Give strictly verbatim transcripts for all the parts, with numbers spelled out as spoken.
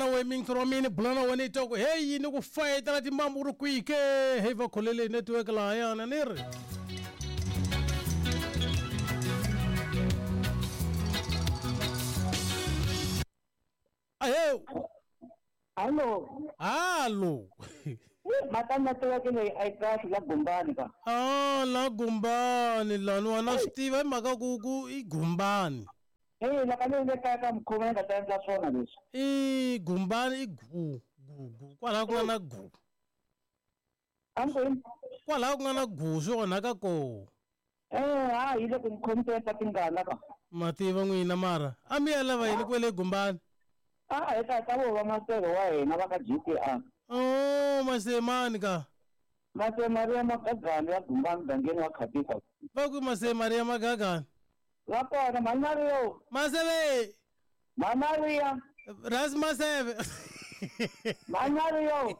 na wena mingisi wa mina bula na wena i twa ku heyi ni ku fayetela timbambu ku ri kwihi ke heyi va kholele network lahayana ni ri ahe Hallo. Hallo. Mhaka network leyi a yi kahle la Gumbani ka. Ah, la Gumbani lani wa na swi tiva hi mhaka ku ku i Gumbani. Eh, la ka le kaya ka mukhuva ni nga ta endla swona leswi. I Gumbani i gu gu gu kwalaho ku nga na gu. Amkwini. Kwalaho ku nga na gu swi onhaka koho. Eh, ha yi le ku ni tingana ka. Ma tiva n'wina mara a mi ya lava yini kwele Gumbani? Ah, eka ka vo va maseve wa hina va ka G T R. Oh, Masemani ka. Mase Maria Magagani ya Gumbani mugangeni wa Khatisa. Va ku Mase Maria Magagani. Va kona Mhani Maria. Maseve. Mhani Maria. Ras Maseve. Mhani Maria.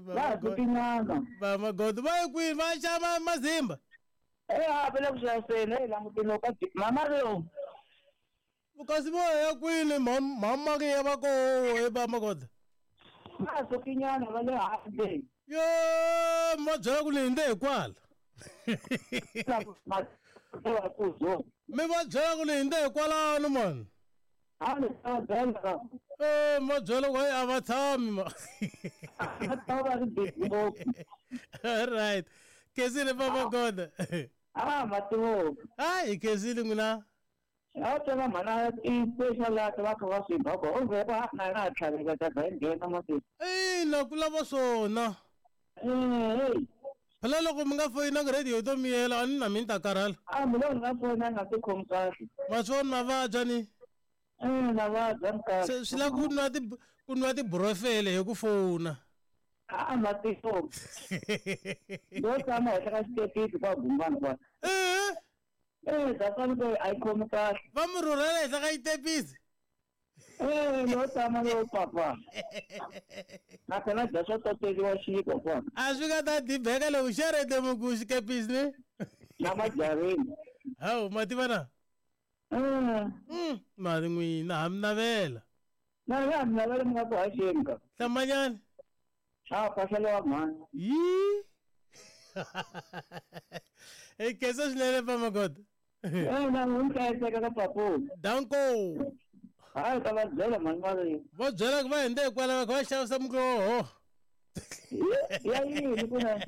Va tinyana. Va magodo va yi kwini va xava mazimba. Eh, ha vele ku xaviseni hey languteni ka Mhani Maria. Kasi vo ya kwini Mhani Maria va koho he va magodo. Va sukinyana va le handle. Yo, ma byela ku ni hindze hi kwala. Mi va byela ku ni hindze hi kwalano mani. Eh, ma byela ku a va tshami ma. All right. Kezile va magoda. Ah, mativo. Hayi kezile n'wina. A tela mhana i special la va kha va swi ba ko o ve va na na tlhaveka ta va nghena mati. Ina ku lava swona. Eh. Phela loko mi nga foyinanga radio to miyela a ni na mina ta karhala. A mi lo nga foyina nga ti khomi kahle. Ma swona mavabya ni. Eh, na vabya ni kahle. Se swi lava ku nwa ti ku nwa tibrofele hi ku fona. A mativo. Yo tshama henhla ka xitepisi kwa Gumbani kwa. Eh. Eh, that's why I khomi kahle. Va mi rhurhela henhla ka xitepisi. Eh, no tshama no papa. Na kona dya swo toteriwa xiko kona. A swi nga ta dibeka loko xerete muku xikepisi ni. Na majarini. Hawu ma tiva na? Eh. Mm, mali n'wina ha mi navela. Na ya mi navela mi nga ku haxeni ka. Hlamanyani. Ah, phahlela wa mhani. Yi. Hey, kesa swinene pa magoda. Eh, na n'wi hlayiseka ka papu. Danko. Hayi ta va byela mhani Maria. Va byela ku va hindze hikwalaho va kha va xavisa muroho. Ya yini ku na?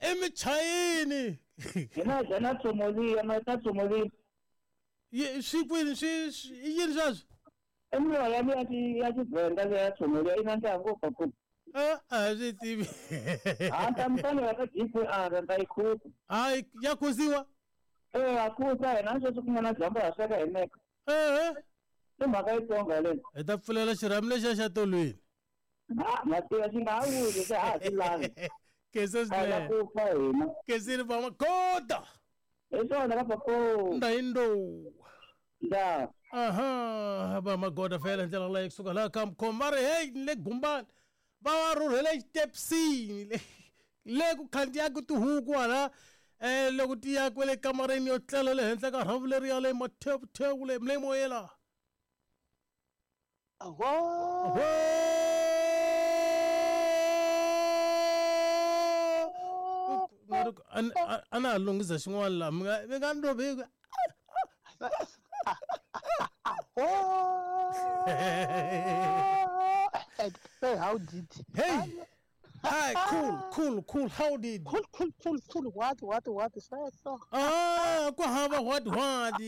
Emichayini. Hina dya na tsomoliya, ma ta tsomoliya. Ye swi kwini swi i yini sweswo? I miroho ya ya ya Tshivenda leya ya tsomoliya yi nandziha ngopfu papu. Ah, a swi tivi. Ah, ta mi fanela ka G P R ta yi khusa. Hayi ya khusiwa? Eh, a khusa hina sweswi ku nga na dyambu ha sweka hi meka. Eh. I mhaka yitsongo leyi. Hi ta pfulela xirhami lexiya xa tolweni. Ah, ma tiva xi nga ha wuli se a ha swi lavi. Kese A la swinene. ku fa hina. Kesile va magoda. Hi swona ka papu. Ndayindo. Nda. Aha, va magoda fela ndlela leyi kusuka laha ka Mkhoma va ri hey le Gumbani. Va va rhurhela xitepsini le le ku khandziyaka tihuku hala eh loko ti ya kwele kamareni yo tlela le henhla ka rhavu leri ya le mathewuthewu le le moyela. Aho. A na ha lunghisa xin'wana laha mi nga mi nga ni rhobi. Hey, how did? Hey. Hi, cool, cool, cool. How did? Cool, cool, cool, cool. What, what, what? So. Ah, ku hava what, what?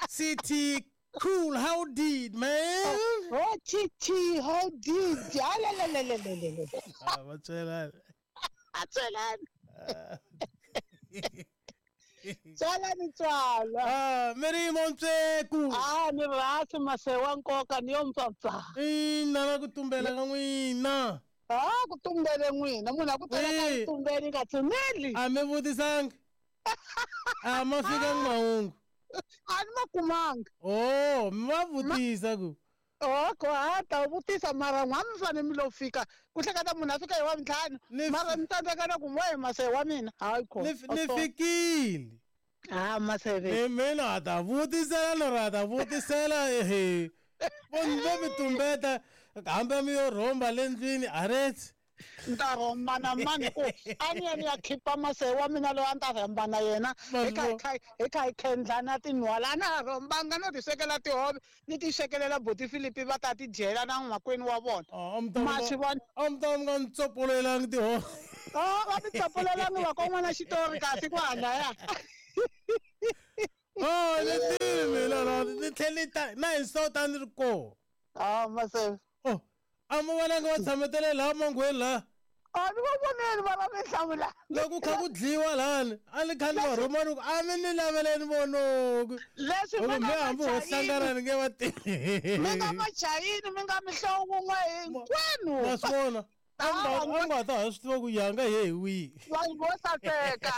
C T, cool. How did, man? Oh, T T, how did? Ah, la, la, la, la, la, la. Ah, what's that? Tswelani. Tswelani tswala. Ah, Mary Montseku. Ah, ni rasi masewa nkoka ni yo mpfapfa. Ina na ku tumbela ka n'wina. Ah, ku tumbele n'wina. Munhu a ku tala ka tumbele nga tshuneli. A mi vutisangi. A ma fika mahungu. A ni ma kumanga. Oh, mi va vutisa ku. Oh, ko ha ta vutisa mara n'wana mi fanele mi lo fika. Ku hleketa munhu a fika hi wa mintlhanu. Mara mi tsandzeka na ku n'we mase wa mina. Hayi ko. Ni fikile. Ah, maseve. Ni mina ta vutisela no ra ta vutisela ehe. Vo mi tumbeta hambi mi yo rhomba le ndlwini aretse. Ni ta rhomba na mani ku a ni ya ni ya khipa mase wa mina loyi a ni ta rhomba na yena hi kha hi kha hi kha hi khendlana tinhwala a na ha rhombanga no ti swekela tihove ni ti swekelela buti Philip va ta ti dyela na makwenu wa vona. Ma swi vona a mi ta mi nga ni tsopololelangi tihove. Oh va mi tsopolelangi va kon'wana xitori kasi kwalaya. Oh ni tivi mina la ni tlhela ni ta na hi sota ni ri kona. Ah mase. Oh a mi vonanga va tshametele laha mangweni laha. A ni va voneli va va mi hlamula. Loko kha ku dliwa lani a ni kha ni va rhuma ni ku a mi ni laveleni vonoku. Leswi mi nga hambi ho hlangana ni nge va tivi. Mi nga machayini mi nga mihlovo wun'we hinkwenu. Ma swi vona a nga nga ta ha swi tiva ku yanga he hi wihi. Vanhu vo saseka.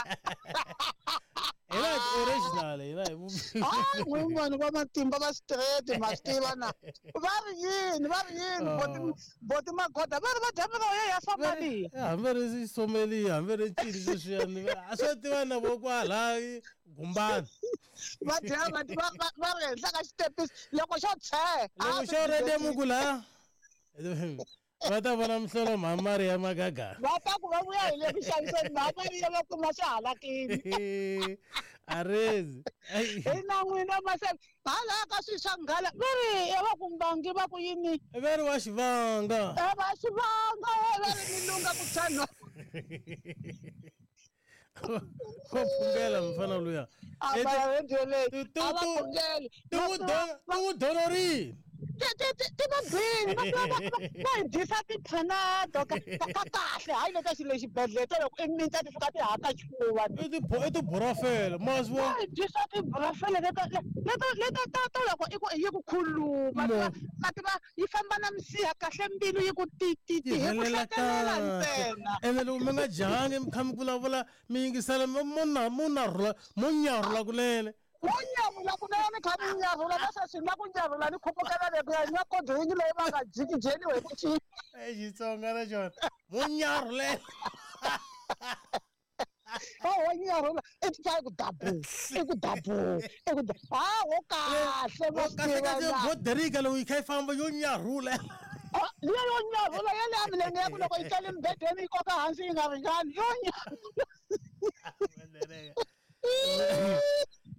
Hina hi original hina hi hayi n'wini vanhu va matimba va straight ma swi tiva na va ri yini va ri yini boti boti magoda va ri va dya miroho ya Somalia. Hambi ri Somalia hambi ri ncini sweswiyani a swo tiva na vo kwala Gumbani. Va dya va va ri henhla ka xitepisi loko xo tshee. Loko xo redemuku laha va ta vona mihlolo mhamari ya magaga. Va ta ku va vuya hi le ku xaviseni mhamari ya va kuma swi halakini. Arezi. Hi na n'wina mase hala ka swi swa nghala va ri va ku mbangi va ku yini. Va ri wa xivanga. E va xivanga va ri mi lunga ku tshana. Ko phungela mfana luya. A va radio leyi. A va phungeli. Ti n'wi donorini. Ti ti ti ti va bini va va va hi dyisa ti-Panado ka ka kahle hayi leta xilo xibedhlele to loko i minta ti fika ti haka xifuva. I ti i tiburafele ma swi vona. Va hi dyisa tiburafele leta leta leta ta ta loko i ku yi ku khuluma ma tiva yi famba na misiha kahle mbilu yi ku ti ti ti hi ku hlekelela ntsena. Ene loko mi nga dyangi mi kha mi vulavula mi yingisela mo na mo narhula mo nyarhula kunene. Mo nyarhula kunene ni kha ni nyarhula na sweswi na ku nyarhula ni khupukela le ku ya nwa kodrinki leyi va nga jikijeliwi hi ku cina. E Xitsonga na xona mo nyarhulela. Wo nyarhula i twa ku dabu i ku dabu i ku ha wo kahle ma swi kahle kahle boderika loko yi kha yi famba yo nyarhula. Liya yo nyarhula ya le milenge ya ku loko yi tlele mbedweni yi koka hansi yi nga ringani yo nyarhula.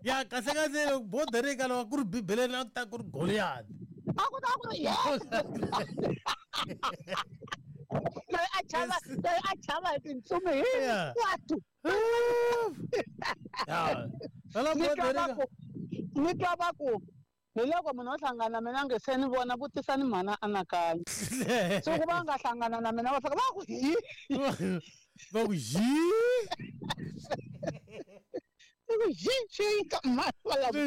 Ya kahle kahle loko boderika loko ku ri bibeleni a ku ta ku ri Goliath. A ku ta ku ri yes. Loyi a chava loyi a chava hi tintsumi hinkwato. Ya phela boderika ni twa va ku hi loko munhu o hlangana na mina nge se ni vona vutisani mhana anakanya. Siku va nga hlangana na mina va fika va ku hi. Va ku hi. Xi mhani va lava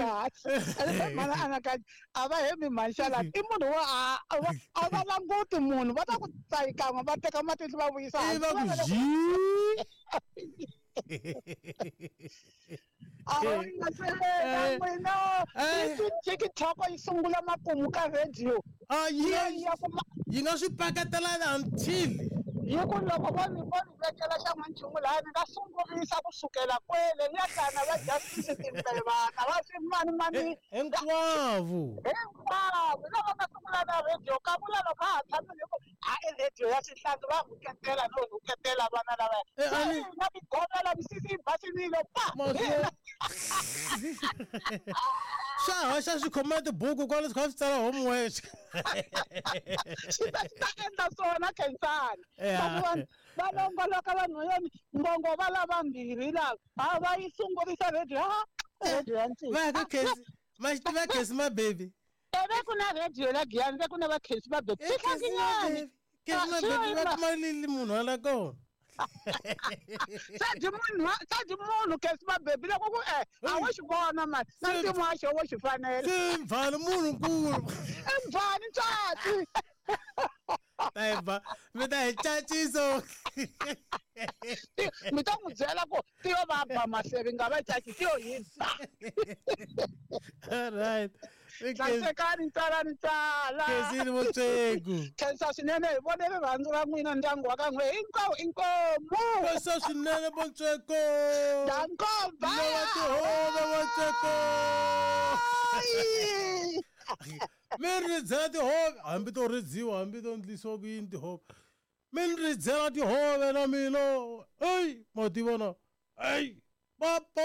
mhana anakanya a va hembi mhani xalani i munhu wa a va languti munhu va ta ku tsayikan'we va teka matihlo va vuyisa I va ku hi. A nga n'wina TikTok yi sungula makumu ka radio. A yi yi nga swi paketelana until yi ku loko vo ni vo ni vekela xa n'wanchumu laha ni nga sungurisa kusukela kwele ni ya hlangana va Justice Timbevana va swi mani mani hinkwavo hinkwavo lava nga sungula na radio ka vula loko ha ha tshamile ku ha i radio ya xihlangi va rhuketela no rhuketela vana lavaya na tigomela misisi yi basinile pa swa haxa swi khoma tibuku kwale swi kha swi tsala homework. Swi ta swi ta endla swona Khensani. Vanhu va longoloka vanhwanyana ngongo va lava mbirhi lava a va yi sungurisa radio ha radio ya ncini. Va ka Khensi ma xi tiva Khensi ma baby. E ve ku na radio la Giyani ve ku na va Khensi ma baby. Swihlakinyani. Khensi ma baby va kuma lili munhu wa la kona. Sadi munhu sadi munhu Khensi ma baby loko ku e a wo xi vona mani na ntimo wa xo wo xi fanela. Se mvhani munhu nkulu. I mvhani tswatsi. Ta mi ta hi caciso. Mi ta n'wi byela ku tiyo va ba maseve nga va caci tiyo hi ba. All right. Hlayisekani tsala ni tsala. Khensini Motswegu. Khensa swinene hi vone rirhandzu ra n'wina ndyangu wa ka n'we hinkwawo inkomu. Khensa swinene Motswego. Danko bye. Lava tihove Motswego. Mi ridzela tihove, hambi to ridziwa, hambi to endlisiwa ku yini tihove. Mi ni ridzela tihove na mina. Ey, ma tiva na. Ey, papa.